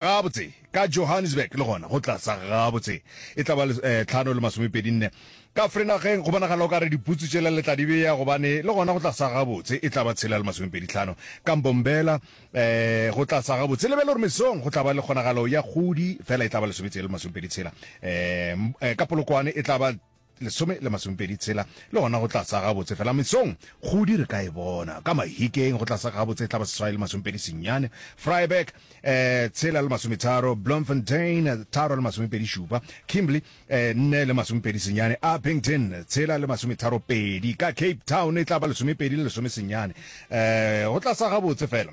Gabotse, ka Johannesburg le gona go tla sa gabotse. E tla ba eh, tlhano le masomepedi nne. Ka Vrenageng go bonagala o ka re diputsu tšela le tla di bea gobane le gona go tla sa gabotse. E tla ba tshela le masomepedi tlhano. Ka Mbombela eh, go tla sa gabotse. Lebele gore mesong go tla ba le kgonagalo ya kgodi fela e tla ba lesometshela le masomepedi tshela. Eh, eh, ka Polokwane e tla ba lesome le masomepedi tshela le gona go tla sa gabotse fela mesong kgodi re ka e bona ka mahikeng go tla sa gabotse e tla ba seswai le masomepedi senyane Vryburg eh, tshela le masometharo Bloemfontein tharo le masomepedi šupa Kimberley eh, nne le masomepedi senyane Upington tshela le masometharo pedi ka Cape Town e tla ba lesomepedi le lesome senyane eh, go tla sa gabotse fela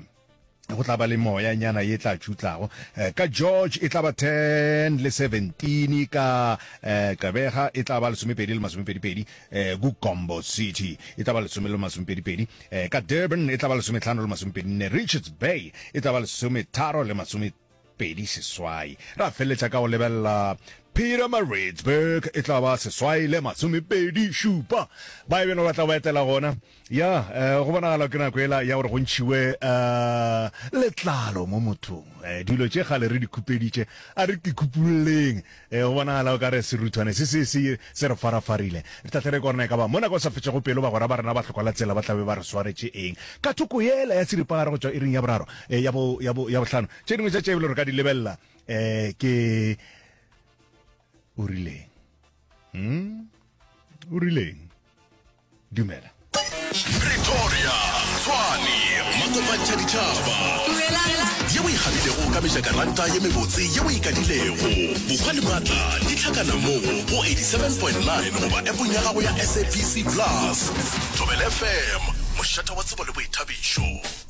go tla ba le moya nyana ye tla tšutlago eh, ka George e tla ba 10 le 17 ka eh, Gqeberha e tla ba lesomepedi le masomepedipedi eh, ku Gombo City e tla ba lesome le masomepedipedi eh, ka Durban e tla ba lesometlhano le masomepedi nne Richards Bay e tla ba lesometharo le masomepedi seswai ra feleletša ka go lebelela Pietermaritzburg e tla ba seswai le masomepedi šupa ba e beno ba tla ba etela gona Ya, eh, go bonagala ke nako ela ya gore go ntšhiwe eh, letlalo mo mothong. Eh, dilo tše kgale re di khupeditše, a re ke khupulleng. Eh, go bonagala o ka re seruthwane se se se se re farafarile. Re tla tle re kone ka ba mo nako e sa fetšego pelo bagwera ba rena ba hlokwa la tsela ba tla be ba re swaretše eng. Ka thoko yela ya seripagare go tšwa iring ya boraro, eh, ya bo ya bo ya bohlano. Tše dingwe tša tše ebile re ka di lebelela eh, ke o rileng. Hmm? O rileng? Dumela. Pretoria, Tshwane, Makopantšha ditšhaba. Ye o e gabilego ka mejakaranta ye mebotse ye o e kadilego. Bohwa le maatla di hlakana mo go 87.9 goba appong ya gago ya SABC Plus. Thobela FM, mošate wa tsebo le boithabišo.